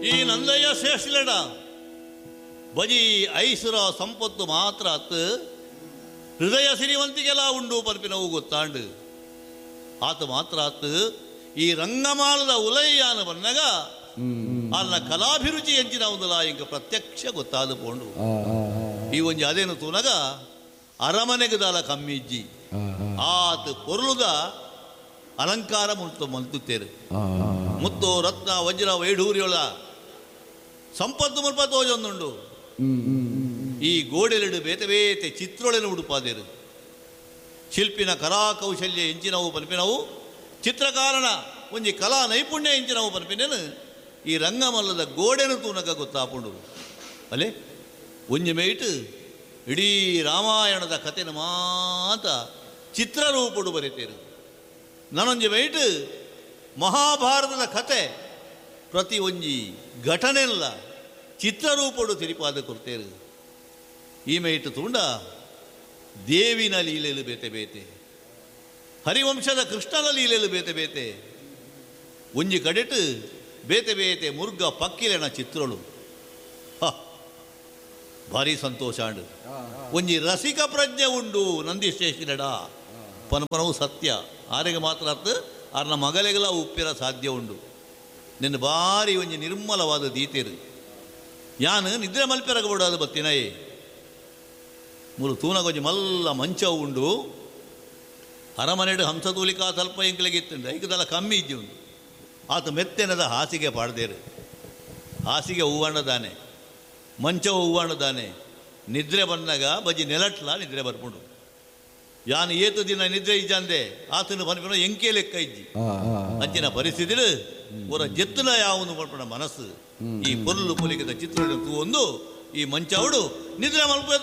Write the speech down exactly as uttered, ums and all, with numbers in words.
ಈ ನಂದಯ್ಯ ಶ್ರೇಷ್ಠ ಬಜಿ ಐಸುರ ಸಂಪತ್ತು ಮಾತ್ರ ಅತ್ತು ಹೃದಯ ಸಿರಿವಂತಿಗೆಲ್ಲ ಉಂಡು ಪರ್ಪಿನವು ಗೊತ್ತಾಂಡು. ಆತ ಮಾತ್ರ ಆತು ಈ ರಂಗಮಾಲದ ಉಲಯ್ಯಾನ ಬಂದಾಗ ಅನ್ನ ಕಲಾಭಿರುಚಿ ಎಂಚಿನ ಒಂದಲ್ಲ ಇಂಕ ಪ್ರತ್ಯಕ್ಷ ಗೊತ್ತಾದ ಪೋಂಡು. ಈ ಒಂಜಿ ಅದೇನು ತೂನಗ ಅರಮನೆಗದಾಲ ಕಮ್ಮಿಜ್ಜಿ ಆತ ಪೊರುಳುದ ಅಲಂಕಾರ ಮುಲ್ತು ಮಲ್ತುತ್ತೇರು. ಮುತ್ತು ರತ್ನ ವಜ್ರ ವೈಢೂರ್ಯೊಳ ಸಂಪತ್ತು ಮುಲ್ಪ ತೋಜೊಂದುಂಡು. ಈ ಗೋಡೆಲೆಡು ಬೇತೆ ಬೇತೆ ಚಿತ್ರೊಳೆನು ಉಡುಪಾದೇರು. ಶಿಲ್ಪಿನ ಕಲಾಕೌಶಲ್ಯ ಎಂಚಿನವು ಪನ್ಪಿನವು, ಚಿತ್ರಕಾರನ ಒಂಜಿ ಕಲಾ ನೈಪುಣ್ಯ ಎಂಚಿನವು ಪನ್ಪಿನೇನು ಈ ರಂಗಮಲ್ಲದ ಗೋಡೆನು ತೂನಕ ಗೊತ್ತಾಪುಂಡು. ಅಲ್ಲೇ ಒಂಜಿ ಮೇಟ್ ಇಡೀ ರಾಮಾಯಣದ ಕಥೆನ ಮಾತ ಚಿತ್ರರೂಪಡು ಬರೀತೇರು. ನಾನೊಂಜಿ ಮೇಟ್ ಮಹಾಭಾರತದ ಕತೆ ಪ್ರತಿ ಒಂಜಿ ಘಟನೆಲ್ಲ ಚಿತ್ರರೂಪಡು ತಿರಿಪಾದ ಕೊಡ್ತೇರು. ಈ ಮೇಟ್ ತೂಂಡ ದೇವಿನ ಲೀಲೆಲು ಬೇತೆ ಬೇತೆ, ಹರಿವಂಶದ ಕೃಷ್ಣನ ಲೀಲೆಲು ಬೇತೆ ಬೇತೆ, ಒಂಜಿ ಕಡೆಟು ಬೇತೆ ಬೇತೆ ಮುರ್ಗ ಪಕ್ಕಿಲೆನ ಚಿತ್ರಳು. ಹ ಭಾರಿ ಸಂತೋಷ ಅಂಡು. ಒಂಜಿ ರಸಿಕ ಪ್ರಜ್ಞೆ ಉಂಡು ನಂದಿಶೇಷಿನಡ ಪನಪನವು ಸತ್ಯ. ಆರೆಗೆ ಮಾತ್ರ ಅರ್ಥ ಆರ್ನ ಮಗಲೆಗೆಲ್ಲ ಉಪ್ಪಿರ ಸಾಧ್ಯ ಉಂಡು. ನಿನ್ನ ಭಾರಿ ಒಂಜಿ ನಿರ್ಮಲವಾದ ದೀತೆರು ಯಾನು ನಿದ್ರೆ ಮಲ್ಪೆರಗಬೋಡಾದ ಬತ್ತಿನಯೇ. ಮೂರು ತೂನಗೊಂಜಿ ಮಲ್ಲ ಮಂಚವು ಉಂಡು. ಅರಮನೆಡು ಹಂಸತೂಲಿಕಾ ತಲ್ಪ ಎಂಕ್ಲೆಗಿತ್ತುಂಡು ಐಕದಲ್ಲ ಕಮ್ಮಿ ಇಜ್ಜಿ ಉಂಡು. ಆತ ಮೆತ್ತೆನದ ಹಾಸಿಗೆ ಪಾಡ್ದೇರು. ಹಾಸಿಗೆ ಹೂವಣ್ಣದಾನೆ, ಮಂಚವು ಹೂವಣ್ಣದಾನೆ. ನಿದ್ರೆ ಬಂದಾಗ ಬಜ್ಜಿ ನೆಲಟ್ಲ ನಿದ್ರೆ ಬರ್ಪುಂಡು. ಯಾನು ಏತು ದಿನ ನಿದ್ರೆ ಇಜ್ಜಂದೆ ಆತನ ಪನ್ಪಿನ ಎಂಕೆ ಲೆಕ್ಕ ಇಜ್ಜಿ. ಅಂಚಿನ ಪರಿಸ್ಥಿತಿಲು ಒರ ಜೆತ್ತುಲ ಯಾವನು ಪನ್ಪುನ ಮನಸ್ಸು ಈ ಪೊರ್ಲು ಪೊಲಿಕದ ಚಿತ್ರ ತೂವೊಂದು ಈ ಮಂಚವುಡು ನಿದ್ರೆ ಮಲ್ಪ.